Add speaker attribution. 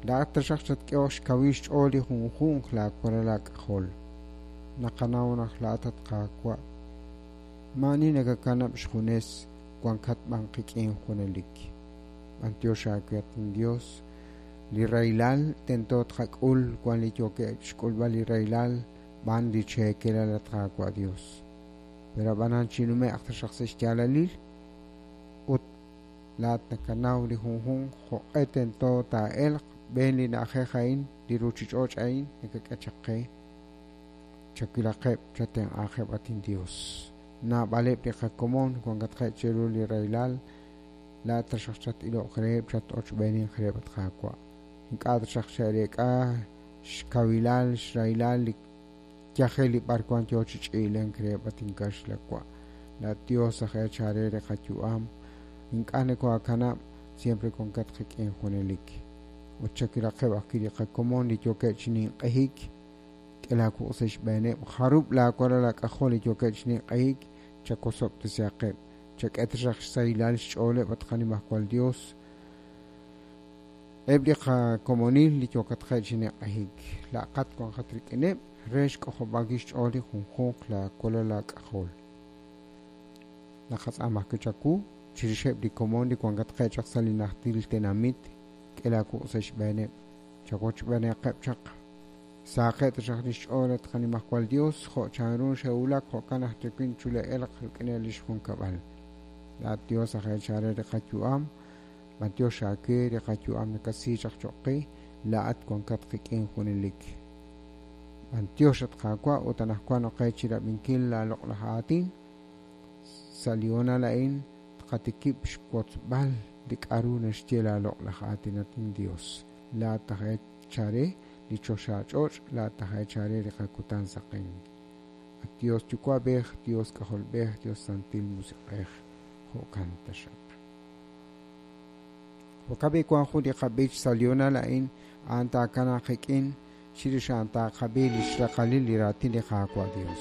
Speaker 1: Laa'at taxaq chatk'ehoq xkawil xch'ool li junjunq laawalal aak'ajol. Naqanaw naq laa'at, at Qaawa', maa'ani nakakanab' xjunes, wankat b'an qik'in junelik. B'anyox aawe, at inYos, li rahilal tento tqak'ul wan li yookeb' xk'ulb'al li rahilal b'an li cheekelal, at Qaawa' Dios. Pero ab'anan chinume'q taxaq sa' xyaalalil ut laa'at nakanaw li junjunq jo'q'e tento taa'elq b'een li na'ajej a'in, li ruuchich'och' a'in nakak'e chaq qe. Chawilaqeb', chatenq'aaqeb', at inYos. Naab'aleb' li qakomon wankatqeb' chiru li rahilal, laa'at taxaq chat-iloq reheb', chat-ochb'eeninq reheb', at Qaawa'. Ink'a' taxaq che'reek'a xkawilal, xrahilal li yajel li b'arwan yo chi ch'iilenk reheb', at inkaxlawa'. Laa'at Dios aj eechal re li qayu'am, ink'a' nokoohakanab', siempre wankat qik'in junelik. Ut chawilaqeb' ajwi' li qakomon li yookeb' chi ninq'ehik, k'e laawuq' sa' xb'eeneb', jarub' laawalal aak'ajol li yookeb' chi ninq'ehik, chawosob'tesihaqeb', chak'e taxaq xsahilal xch'ooleb', at qanimajwal Dios. Eb' li qakomonil li yookatqeb' chi ninq'ehik, laa'qat wanqat rik'ineb' re xk'ojob'ankil xch'ool li junjunq laawalal aak'ajol. Naqatz'aama ajwi' chawu chirixeb' li komon li wankatqeb' chaq sa' li najtil tenamit, k'e laawuq' sa' xb'eeneb', chawochb'eenaqeb' chaq. Sahaqeb' taxaq li xch'ool, at qanimajwal Dios, jo' chanru xe'wulak jo'kan aj tuwin chule'elq rik'ineb' li xjunkab'al. Laa'at Dios aj eechal re li qayu'am, b'anyox aawe li qayu'am nakasi chaq cho'q qe, laa'at wankat qik'in junelik. B'anyox, at Qaawa', ut anaqwan oqe chi rab'inkil laaloq'laj aatin. Sa' li hoonal a'in tqatikib' xwotzb'al li k'aru naxye laaloq'laj aatin, at inYos. Laa'at aj eechal re li choxach'och', laa'at aj eechal re li qakutan saqenk. At Dios Yuwa'b'ej, Dios K'ajolb'ej, Dios Santil Musiq'ej, jo'kan taxaq. Jo'kan b'i' wank jun li qab'ich sa' li hoonal a'in, a'an taakanaaq qik'in chirix a'an taaqab'i li xraqalil li raatin li Qaawa' Dios.